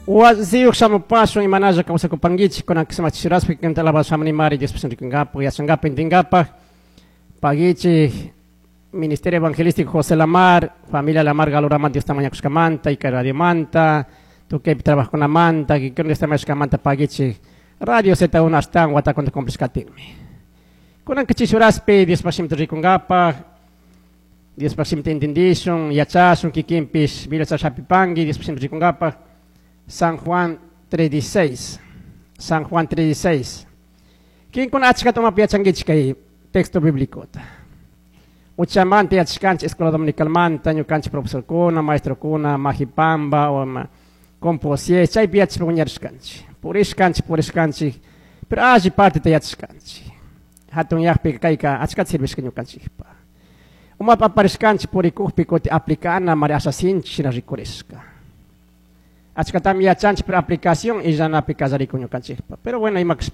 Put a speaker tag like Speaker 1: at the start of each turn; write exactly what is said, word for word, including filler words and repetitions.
Speaker 1: Wasiyuq shamupashun imanalla kawsakupankichik kunan kisamachi kanta alabashamani Dios rikunkapak yachankapak intinkapak pagichik Ministerio Evangelístico José Lamar, familia Lamar Galoraman Dios mañakushkamanta, y radiomanta, tukaypi trabajkunamanta, kikin Dios mañakushkamanta pagichik Radio Z uno ashtawan watakunata cumplishkatinmi. Kunan kichishuraspi Dios shimita rikunkapak, Dios shimita entendishun, yachashun kikinpish Biblia hapipanki Dios shimita rikunkapak San Juan tres dieciséis. San Juan tres dieciséis. Kinkuna achkata umapi yachankichik kay texto bíblico? Uchamanta yachashkanchik escuela dominicalmanta, ñukanchik profesorkuna, maestrokuna, Majipamba o ma Composier, chaypi yachashpa wiñarishkanchik. Purishkanchik, purishkanchik, pero alli parteta yachashkanchik. Hatun yaqpi kayka achkata sirvishka ñukanchikpa. Umapa aparishkanchik purikukpi kuti aplicana mari asha sinchi shina rikurishka. Achkatami yachanchik, pero aplicación illanapi kallarikun ñukanchikpa. Pero bueno, ima